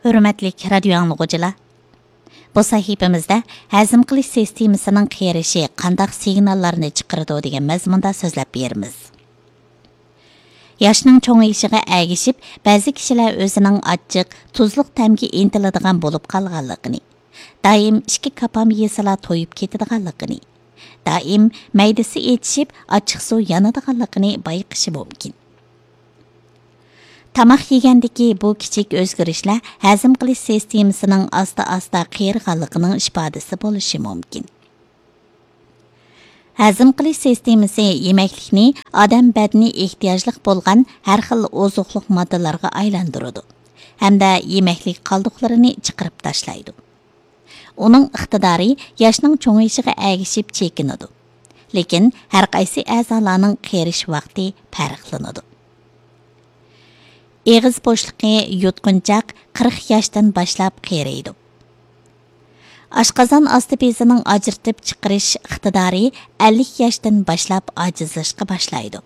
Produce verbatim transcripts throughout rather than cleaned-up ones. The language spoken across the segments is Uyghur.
ھۆرمەتلىك رادىيو ئاڭلىغۇچىلار، بۇ سەھىپىمىزدە ھەزىم قىلىش سىستېمىسىنىڭ قېرىشى قانداق سىگناللارنى چىقىرىدۇ دېگەن مەزمۇندا سۆزلەپ بېرىمىز. ياشنىڭ چوڭىيىشىغا ئەگىشىپ، بەزى كىشىلەر ئۆزىنىڭ ئاچچىق، تۇزلۇق تەمگە ئىنتىلىدىغان بولۇپ قالغانلىقىنى، دائىم ئىككى كاپام يېسىلا تويۇپ كېتىدىغانلىقىنى، دائىم مەيدىسى ئېچىشىپ، ئاچچىقسۇ يانىدىغانلىقىنى بايقىشى مۇمكىن. تاماق يېگەندىكى بۇ كىچىك ئۆزگىرىشلەر ھەزىم قىلىش سىستېمىسىنىڭ ئاستا-ئاستا قېرىغانلىقىنىڭ ئىپادىسى بولۇشى مۇمكىن. ھەزىم قىلىش سىستېمىسى يېمەكلىكنى ئادەم بەدىنى ئېھتىياجلىق بولغان ھەر خىل ئوزۇقلۇق ماددىلارغا ئايلاندۇرىدۇ ھەمدە يېمەكلىك قالدۇقلىرىنى چىقىرىپ تاشلايدۇ. ئۇنىڭ ئىقتىدارى ياشنىڭ چوڭىيىشىغا ئەگىشىپ چېكىنىدۇ. لېكىن ھەر قايسى ئەزالارنىڭ قېرىش ۋاقتى پەرقلىنىدۇ. ئېغىز بوشلۇقى يۇتقۇنچاق قىرىق ياشتىن باشلاپ قېرىيدۇ. ئاشقازان ئاستى بېزىنىڭ ئاجرىتىپ چىقىرىش ئىقتىدارى ئەللىك ياشتىن باشلاپ ئاجىزلاشقا باشلايدۇ.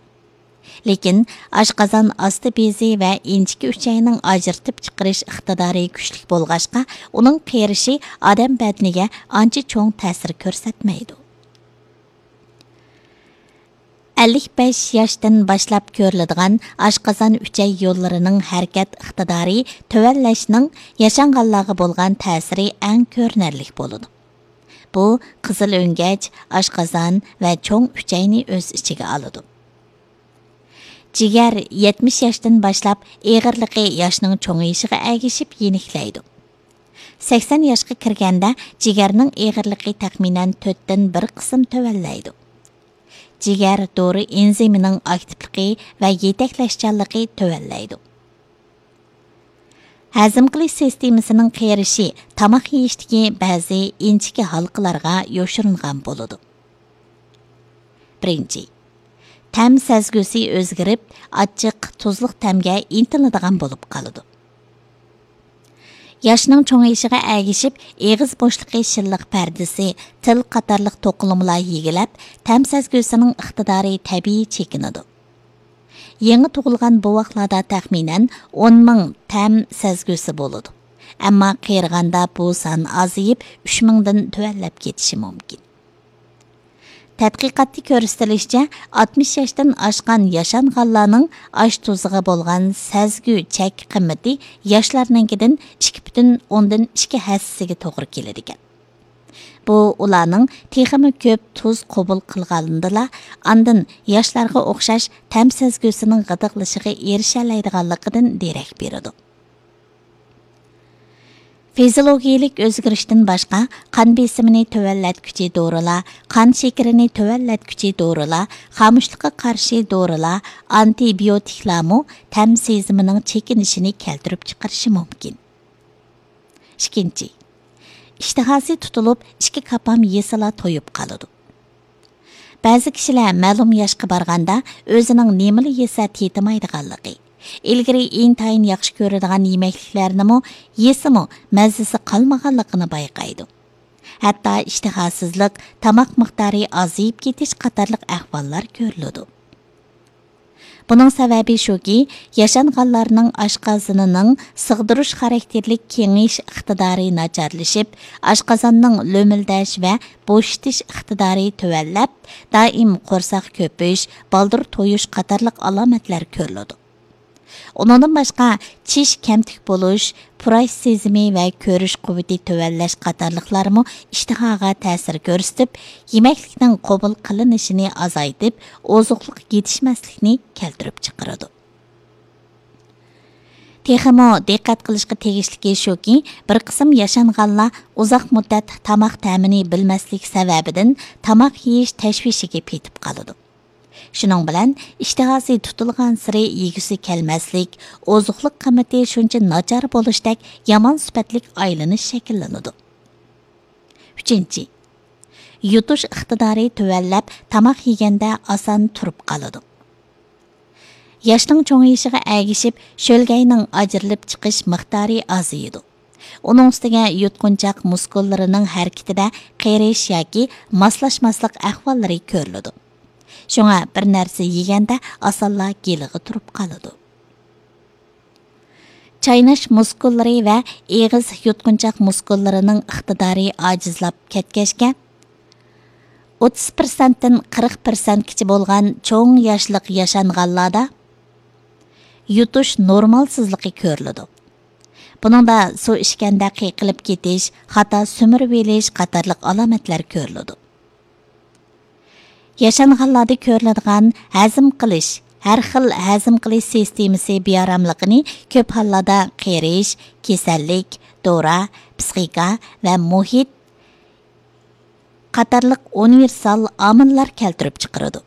لېكىن ئاشقازان ئاستى بېزى ۋە ئىنچىكە ئۈچەينىڭ ئاجرىتىپ چىقىرىش ئىقتىدارى كۈچلۈك بولغاچقا، ئۇنىڭ قېرىشى ئادەم بەدىنىگە ئانچە چوڭ تەسىر كۆرسەتمەيدۇ. ئەللىك بەش ياشتىن باشلاپ كۆرۈلىدىغان ئاشقازان ئۈچەي يوللىرىنىڭ ھەرىكەت ئىقتىدارى تۆۋەنلەشنىڭ ياشانغانلارغا بولغان تەسىرى ئەڭ كۆرۈنەرلىك بولىدۇ. بۇ قىزىل ئۆڭگەچ، ئاشقازان ۋە چوڭ ئۈچەينى ئۆز ئىچىگە ئالىدۇ. جىگەر يەتمىش ياشتىن باشلاپ ئېغىرلىقى ياشنىڭ چوڭىيىشىغا ئەگىشىپ يېنىكلەيدۇ. سەكسەن ياشقا كىرگەندە جىگەرنىڭ ئېغىرلىقى تەخمىنەن تۆتتىن بىر قىسىم تۆۋەنلەيدۇ. جىگەر دورا ئېنزىمىنىڭ ئاكتىپلىقى ۋە يېتەكلەشچانلىقى تۆۋەنلەيدۇ. ھەزىم قىلىش سىستېمىسىنىڭ قېرىشى تاماق يېيىشتىكى بەزى ئىنچىكە ھالقىلارغا يوشۇرۇنغان بولىدۇ. بىرىنچى، تەم سەزگۈسى ئۆزگىرىپ، ئاچچىق، تۇزلۇق تەمگە ئىنتىلىدىغان بولۇپ قالىدۇ. ياشنىڭ چوڭىيىشىغا ئەگىشىپ، ئېغىز بوشلۇقى شىللىق پەردىسى، تىل قاتارلىق توقۇلمىلار يېگىلەپ، تەم سەزگۈسىنىڭ ئىقتىدارى تەبىئىي چېكىنىدۇ. يېڭى تۇغۇلغان بوۋاقلاردا تەخمىنەن ئون مىڭ تەم سەزگۈسى بولىدۇ. ئەمما قېرىغاندا بۇ سان ئازىيىپ، ئۈچ مىڭدىن تۆۋەنلەپ كېتىشى مۇمكىن. تەتقىقاتتا كۆرسىتىلىشىچە، ئاتمىش ياشتىن ئاشقان ياشانغانلارنىڭ ئاش تۇزىغا بولغان سەزگۈ چەك قىممىتى ياشلارنىڭكىدىن ئىككى پۈتۈن ئوندىن ئىككى ھەسسىگە توغرا كېلىدىكەن. بۇ ئۇلارنىڭ تېخىمۇ كۆپ تۇز قوبۇل قىلغانلىرىدىلا، ئاندىن ياشلارغا ئوخشاش تەم سەزگۈسىنىڭ غىدىقلىشىغا ئېرىشەلەيدىغانلىقىدىن دېرەك بېرىدۇ. فىزىولوگىيىلىك ئۆزگىرىشتىن باشقا، قان بېسىمىنى تۆۋەنلەتكۈچى دورىلار، قان شېكىرىنى تۆۋەنلەتكۈچى دورىلار، خامۇشلۇققا قارشى دورىلار ئانتىبىيوتىكلارمۇ تەم سېزىمىنىڭ چېكىنىشىنى كەلتۈرۈپ چىقىرىشى مۇمكىن. ئىككىنچى، ئىشتىھاسى تۇتۇلۇپ، ئىككى كاپام يېسىلا تويۇپ قالىدۇ. بەزى كىشىلەر مەلۇم ياشقا بارغاندا ئۆزىنىڭ نېمىلا يېسە تېتىمايدىغانلىقى، ئىلگىرى ئىنتايىن ياخشى كۆرىدىغان يېمەكلىكلەرنىمۇ يېسىمۇ مەززىسى قالمىغانلىقىنى بايقايدۇ. ھەتتا ئىشتىھاسىزلىق، تاماق مىقدارى ئازىيىپ كېتىش قاتارلىق ئەھۋاللار كۆرۈلىدۇ. بۇنىڭ سەۋەبى شۇكى، ياشانغانلارنىڭ ئاشقازىنىنىڭ سىغدۇرۇش خاراكتېرلىك كېڭىيىش ئىقتىدارى ناچارلىشىپ، ئاشقازاننىڭ لۆمۈلدەش ۋە بوشىتىش ئىقتىدارى تۆۋەنلەپ، دائىم قورساق كۆپۈش، بالدۇر تويۇش قاتارلىق ئالامەتلەر كۆرۈلىدۇ. ئۇنىڭدىن باشقا، چىش كەمتۈك بولۇش، پۇراش سېزىمى ۋە كۆرۈش قۇۋۋىتى تۆۋەنلەش قاتارلىقلارمۇ ئىشتىھاغا تەسىر كۆرسىتىپ، يېمەكلىكنىڭ قوبۇل قىلىنىشىنى ئازايتىپ، ئوزۇقلۇق يېتىشمەسلىكنى كەلتۈرۈپ چىقىرىدۇ. تېخىمۇ دىققەت قىلىشقا تېگىشلىكى شۇكى، بىر قىسىم ياشانغانلار ئۇزاق مۇددەت تاماق تەمىنى بىلمەسلىك سەۋەبىدىن تاماق يېيىش تەشۋىشىگە پېتىپ قالىدۇ. شۇنىڭ بىلەن ئىشتىھاسى تۇتۇلغانسېرى يېگۈسى كەلمەسلىك، ئوزۇقلۇق قىممىتى شۇنچە ناچار بولۇشتەك يامان سۈپەتلىك ئايلىنىش شەكىللىنىدۇ. ئۈچىنچى، يۇتۇش ئىقتىدارى تۆۋەنلەپ، تاماق يېگەندە ئاسان تۇرۇپ قالىدۇ. ياشنىڭ چوڭىيىشىغا ئەگىشىپ، شۆلگەينىڭ ئاجرىلىپ چىقىش مىقدارى ئازىيىدۇ. ئۇنىڭ ئۈستىگە يۇتقۇنچاق مۇسكۇللىرىنىڭ ھەرىكىتىدە قېرىيىش ياكى ماسلاشماسلىق ئەھۋاللىرى كۆرۈلىدۇ. شۇڭا بىر نەرسە يېگەندە ئاسانلا گېلىغا تۇرۇپ قالىدۇ. چايناش مۇسكۇللىرى ۋە ئېغىز يۇتقۇنچاق مۇسكۇللىرىنىڭ ئىقتىدارى ئاجىزلاپ كەتكەچكە، ئوتتۇز پىرسەنتتىن قىرىق پىرسەنتكىچە بولغان چوڭ ياشلىق ياشانغانلاردا يۇتۇش نورمالسىزلىقى كۆرۈلىدۇ. بۇنىڭدا سۇ ئىچكەندە قىيقىلىپ كېتىش، خاتا سۈمۈرۈۋېلىش قاتارلىق ئالامەتلەر كۆرۈلىدۇ. ياشانغانلاردا كۆرۈلىدىغان ھەزىم قىلىش، ھەر خىل ھەزىم قىلىش سىستېمىسى بىئاراملىقىنى كۆپ ھاللاردا قېرىش، كېسەللىك، دورا، پىسخىكا ۋە مۇھىت قاتارلىق ئۇنىۋېرسال ئامىللار كەلتۈرۈپ چىقىرىدۇ.